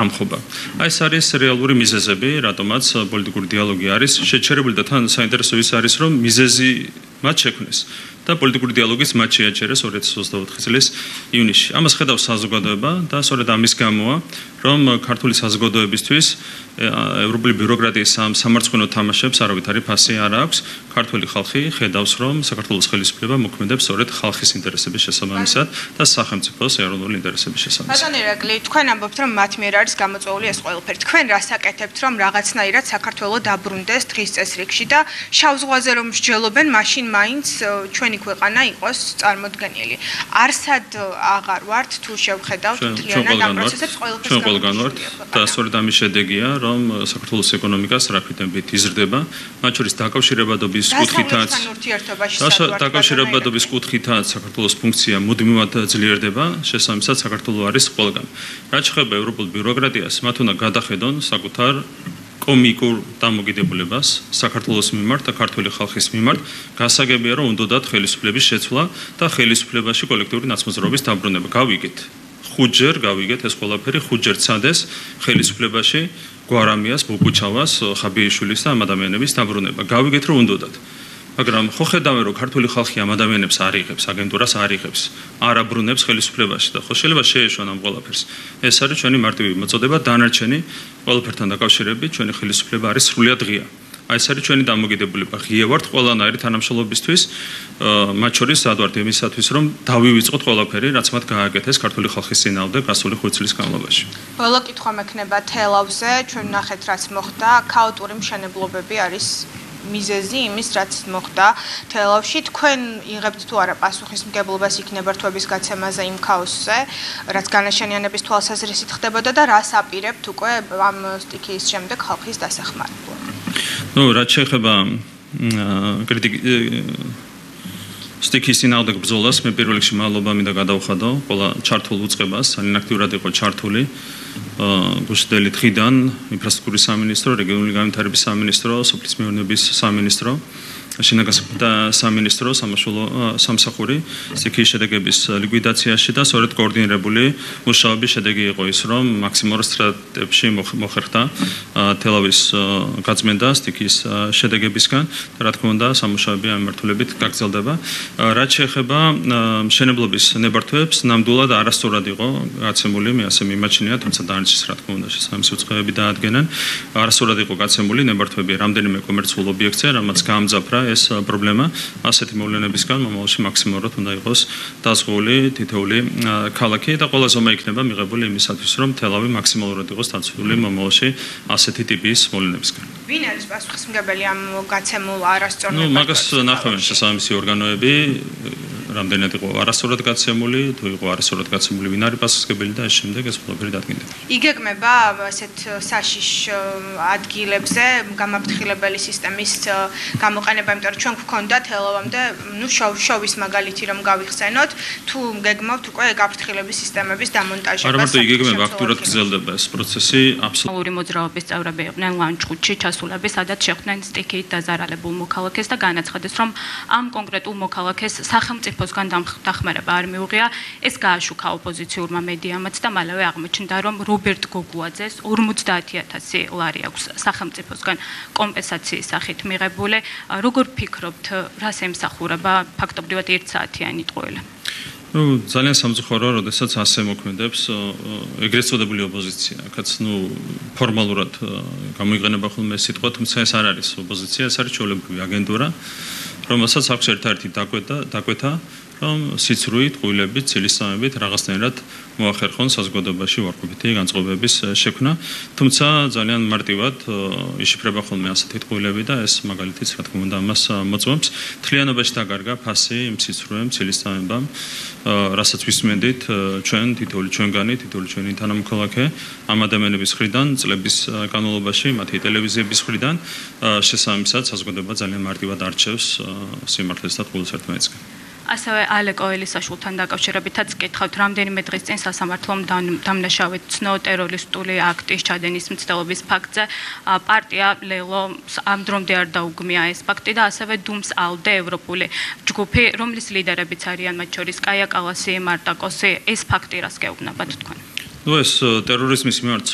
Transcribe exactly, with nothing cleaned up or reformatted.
ამხობა. Აი ეს არის რეალური მიზეზები, რატომაც პოლიტიკური დიალოგი არის შეჩერებული და თან საინტერესო ის არის, რომ მიზეზი მათ შექმნეს და პოლიტიკური დიალოგის მათ შეაჩერეს ორი ათი ოცდაოთხი წლის ივნისში. ამას ხედავს საზოგადოება და სწორედ ამის გამოა, რომ ქართული საზოგადოებისთვის ევროპული ბიუროკრატიის სამარცხვინო თამაშებს არავითარი ფასი არ აქვს. ქართული ხალხი ხედავს, რომ საქართველოს ხელისუფლება მოქმედებს სწორედ ხალხის ინტერესების შესაბამისად და სახელმწიფოს ეროვნული ინტერესების შესაბამისად. ბატონო ირაკლი, თქვენ ამბობთ, რომ მათ მიერ არის გამოწვეული ეს ყველაფერი. თქვენ რას აკეთებთ, რომ რაღაცნაირად საქართველოს დაბრუნდეს დღის წესრიგში და შავ ზღვაზე რომ მსჯელობენ, მაშინ მაინც ჩვენი ქვეყანა იყოს წარმოდგენილი. არსად აღარ ვართ თუ შევხედავთ მთლიანად ამ პროცესებს ყველაფერს გამოვიყენოთ და სწორედ ამის შედეგია, რომ საქართველოს ეკონომიკას რაფით ტემპით იზრდება, მათ შორის დაკავშირებადობის კუთხითაც დაკავშირებადობის კუთხითაც საქართველოს ფუნქცია მუდმივად ძლიერდება, შესაბამისად საქართველოს არის ყველგან. რაც შეეხება ევროპულ ბიუროკრატიას, მათ უნდა გადახედონ საკუთარ კომიკურ დამოკიდებულებას საქართველოს მიმართ და ქართული ხალხის მიმართ, გასაგებია რომ უნდათ ხელისუფლების შეცვლა და ხელისუფლებაში კოლექტიური ნაცმოძრაობის დაბრუნება. გავიგეთ. ხუთჯერ გავიგეთ ეს ყველაფერი, ხუთჯერ ცადეს ხელისუფლებაში გვარამიას, ბობუჩავას, ხაბიიშვილის და ამ ადამიანების დაბრუნება. გავიგეთ რომ უნდათ. მაგრამ ხო ხედავენ რომ ქართული ხალხი ამ ადამიანებს არ იღებს, აგენტურას არ იღებს, არ აბრუნებს ხელისუფლებაში და ხო შეიძლება შეეშვან ამ ყველაფერს. ეს არის ჩვენი მარტივი მოწოდება, დანარჩენი ყველაფერთან დაკავშირებით ჩვენი ხელისუფლება არის სრულიად ღია. აი ეს არის ჩვენი დამოკიდებულება. ღია ვართ ყველანაირი თანამშრომლობისთვის, მათ შორის ადვართ იმისათვის, რომ დავივიწყოთ ყველაფერი, რაც მათ გააკეთეს ქართული ხალხის წინააღმდეგ გასული ხუთ წლის განმავლობაში. ბოლო კითხვა მექნება თელავზე, ჩვენ ნახეთ რაც მოხდა, ქაოტური მშენებლობები არის მიზეზი იმის, რაც მოხდა თელავში. თქვენ იღებთ თუ არა პასუხისმგებლობას იქნებართვების გაცემაზე იმ ქაოსზე, რაც განაშენიანების თვალსაზრისით ხდებოდა და რას აპირებთ უკვე ამ სტიქიის შემდეგ ხალხის დასახმარებლად? ნუ რაც შეეხება კრიტიკ სტიქიის წინააღმდეგ ბრძოლას, მე პირველ რიგში მადლობა მინდა გადავხადო ყველა ჩართულ უწყებას, ძალიან აქტიურად იყო ჩართული გუშინდელი დღიდან ინფრასტრუქტურის სამინისტრო, რეგიონული განვითარების სამინისტრო, სოფლის მეურნეობის სამინისტრო, შინაგანსაკუთრებთა სამინისტრო, სამაშველო სამსახური სტიქიის შედეგების ლიკვიდაციაში და სწორედ კოორდინირებული მუშაობის შედეგი იყო ის, რომ მაქსიმალურ სტრატებში მოხერხდა თელავის გაწმენდა სტიქიის შედეგებისგან და რა თქმა უნდა სამუშაოები ამ მიმართულებით გაგრძელდება. რაც შეეხება მშენებლობის ნებართვებს, ნამდვილად არასწორად იყო გაცემული, მე ასე მიმაჩნია, თუმცა დანარჩენს რა თქმა უნდა შესაბამისი უწყებები დაადგენენ. არასწორად იყო გაცემული ნებართვები რამდენიმე კომერციულ ობიექტზე, რამაც გაამძაფრა ეს პრობლემა, ასეთი მოვლენებისგან მომავალში მაქსიმალურად უნდა იყოს დაზღვეული თითოეული ქალაქი და ყველა ზომა იქნება მიღებული იმისათვის, რომ თელავი მაქსიმალურად იყოს დაცული მომავალში ასეთი ტიპის მოვლენებისგან. ვინ არის პასუხისმგებელი ამ გაცემულ არასწორ ნებართვებს? ნუ მაგას ნახავენ შესაბამისი ორგანოები, რამდენად იყო არასწორად გაცემული, თუ იყო არასწორად გაცემული, ვინ არის პასუხისმგებელი და ეს შემდეგ ეს ყველაფერი დადგინდება. იგეგმება ასეთ საშიშ ადგილებზე გამაფრთხილებელი სისტემის გამოყენება, იმიტომ რომ ჩვენ გვქონდა თელავამდე, ნუ შოვის მაგალითი რომ გავიხსენოთ, თუ გეგმავთ უკვე გაფრთხილების სისტემების დამონტაჟებას. არა მარტო იგეგმება, აქტიურად გრძელდება ეს პროცესი, აბსოლუტური მოძრაობის წევრები იყვნენ ლანჩხუთში ჩასულები, სადაც შეხვდნენ სტიქიით დაზარალებულ მოქალაქეს და განაცხადეს, რომ ამ კონკრეტულ მოქალაქეს სახელმწიფოსგან დახმარება არ მიუღია. ეს გააშუქა ოპოზიციურმა მედიამაც და მალევე აღმოჩნდა, რომ რობერტ გოგუაძეს ორმოცდაათი ათასი ლარი აქვს სახელმწიფოსგან კომპენსაციის სახით მიღებული. როგორ ფიქრობთ, რას ემსახურება ფაქტობრივად ერთ საათიანი ტყუილი? ნუ ძალიან სამწუხაროა, როდესაც ასე მოქმედებს ეგრეთ წოდებული ოპოზიცია. აქაც ნუ ფორმალურად გამოიყენება ხოლმე ეს სიტყვა, თუმცა ეს არ არის ოპოზიცია, ეს არის ჩვეულებრივი აგენტურა, რომელსაც აქვს ერთ-ერთი დაკვეთა, დაკვეთა რომ სიცრუით, ყვილებით, ცილისწამებით რაღაცნაირად მოახერხონ საზოგადოებაში უარყოფითი განწყობების შექმნა, თუმცა ძალიან მარტივად იშიფრება ხოლმე ასეთი ყვილები და ეს მაგალითიც რა თქმა უნდა ამას მოწმობს. მთლიანობაში დაკარგა ფასი იმ სიცრუემ, ცილისწამებამ, რასაც ვისმენდით ჩვენ, თითოეული ჩვენგანი, თითოეული ჩვენი თანამოქალაქე ამ ადამიანების მხრიდან, წლების განმავლობაში, მათი ტელევიზიების მხრიდან, შესაბამისად საზოგადოება ძალიან მარტივად არჩევს სიმართლეს და ყვილს ერთმანეთისგან. ასევე ალე კოელისაშვილთან დაკავშირებითაც კითხავთ, რამდენიმე დღის წინ სასამართლომ დამნაშავედ ცნო ტერორისტული აქტის ჩადენის მცდელობის ფაქტზე. პარტია ლელო ამ დრომდე არ დაუგმია ეს ფაქტი და ასევე დუმს ალდე ევროპული ჯგუფი, რომლის ლიდერებიც არიან მათ შორის კაია კალასი, მარტა კოსი, ეს ფაქტი რას გეუბნებათ თქვენ? ну ეს ტერორიზმის მიმართ